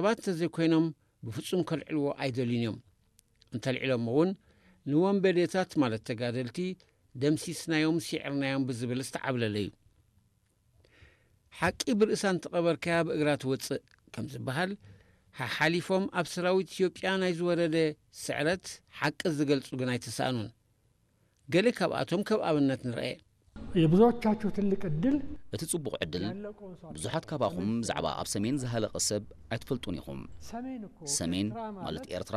ሰባት እንተዘይኮይኖም ብፍጹም ከልዕልዎ ኣይደልዩን እዮም። እንተልዒሎሞ እውን ንወንበዴታት ማለት ተጋደልቲ ደምሲስናዮም፣ ሲዕርናዮም ብዝብል ዝተዓብለለ እዩ። ሓቂ ብርእሳ እንተቐበርካያ ብእግራ ትወጽእ ከም ዝበሃል፣ ሓሓሊፎም ኣብ ሰራዊት ኢትዮጵያ ናይ ዝወረደ ስዕረት ሓቂ ዝገልጹ ግን ኣይተሳእኑን። ገለ ካብኣቶም ከም ኣብነት ንርኤ። የብዙዎቻችሁ ትልቅ እድል እቲ ጽቡቕ ዕድል፣ ብዙሓት ካባኹም ብዛዕባ ኣብ ሰሜን ዝሃለቐ ሰብ ኣይትፈልጡን ኢኹም። ሰሜን ማለት ኤርትራ፣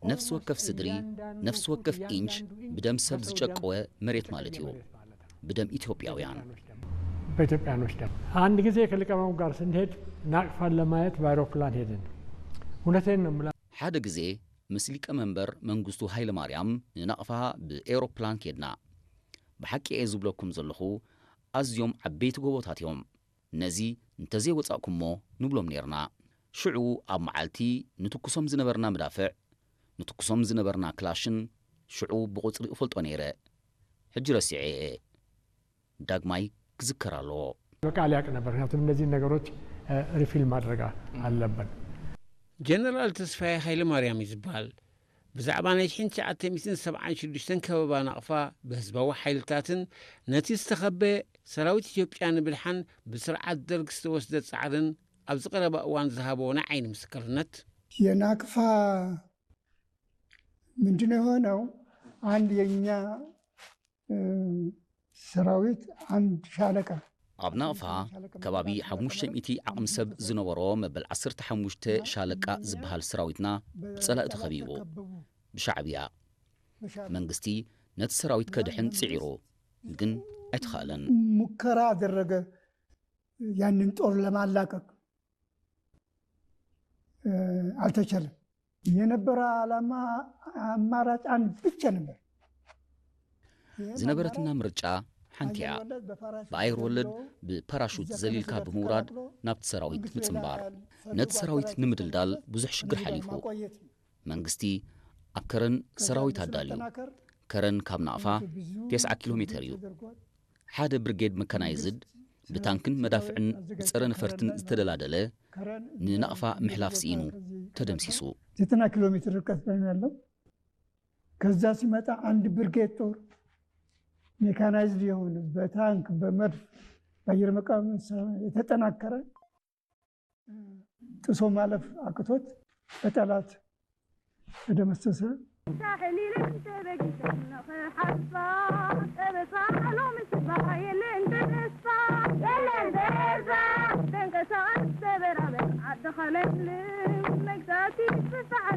ነፍሲ ወከፍ ስድሪ፣ ነፍሲ ወከፍ ኢንች ብደም ሰብ ዝጨቀወ መሬት ማለት እዩ። ብደም ኢትዮጵያውያን። በኢትዮጵያኖች ደም። አንድ ጊዜ ከሊቀመንበሩ ጋር ስንሄድ ናቅፋን ለማየት በአይሮፕላን ሄድን። እውነቴን ነው የምላ ሓደ ግዜ ምስ ሊቀመንበር መንግስቱ ሃይለማርያም ንናቕፋ ብኤውሮፕላን ኬድና። ብሓቂ እየ ዝብለኩም ዘለኹ፣ ኣዝዮም ዓበይቲ ጎቦታት እዮም። ነዚ እንተዘይወጻእኩሞ ንብሎም ኔርና። ሽዑ ኣብ መዓልቲ ንትኩሶም ዝነበርና መዳፍዕ፣ ንትኩሶም ዝነበርና ክላሽን ሽዑ ብቑጽሪ እፈልጦ ነይረ። ሕጂ ረሲዐ እየ። ዳግማይ ክዝከር ኣለዎ። በቃል ያቅ ነበር። ምክንያቱም እነዚህን ነገሮች ሪፊል ማድረግ አለብን። ጀነራል ተስፋዬ ኃይለ ማርያም እዩ ዝበሃል። ብዛዕባ ናይ ሽሕን ትሽዓተ ሚእትን ሰብዓን ሽዱሽተን ከበባ ናቕፋ ብህዝባዊ ሓይልታትን ነቲ ዝተኸበ ሰራዊት ኢትዮጵያ ንምድሓን ብስርዓት ደርግ ዝተወስደ ጻዕርን ኣብዚ ቀረባ እዋን ዝሃቦ ናይ ዓይኒ ምስክርነት የናቅፋ ምንድነው የሆነው? አንድ የኛ ሰራዊት አንድ ሻለቃ ኣብ ናቕፋ ከባቢ ሓሙሽተ ሚእቲ ዓቕሚ ሰብ ዝነበሮ መበል ዓሰርተ ሓሙሽተ ሻለቃ ዝበሃል ሰራዊትና ብጸላኢ ተኸቢቡ ብሻዕብያ። መንግስቲ ነቲ ሰራዊት ከድሕን ጽዒሩ፣ ግን ኣይተኻእለን። ሙከራ አደረገ ያንን ጦር ለማላቀቅ አልተቻለም። የነበረ ዓላማ አማራጭ አንድ ብቻ ነበር። ዝነበረትና ምርጫ ሓንቲ እያ። ብኣየር ወለድ ብፓራሹት ዘሊልካ ብምውራድ ናብቲ ሰራዊት ምጽንባር። ነቲ ሰራዊት ንምድልዳል ብዙሕ ሽግር ሓሊፉ። መንግስቲ ኣብ ከረን ሰራዊት ኣዳልዩ። ከረን ካብ ናቕፋ ተስዓ ኪሎ ሜተር እዩ። ሓደ ብርጌድ መካናይዝድ ብታንክን መዳፍዕን ብጸረ ነፈርትን ዝተደላደለ ንናቕፋ ምሕላፍ ስኢኑ ተደምሲሱ። ዘጠና ኪሎ ሜትር ርቀት ላይ ነው ያለው። ከዛ ሲመጣ አንድ ብርጌድ ጦር ሜካናይዝድ የሆነ በታንክ በመድፍ በአየር መቃወሚያ መሳሪያ የተጠናከረ ጥሶ ማለፍ አቅቶት በጠላት ተደመሰሰ።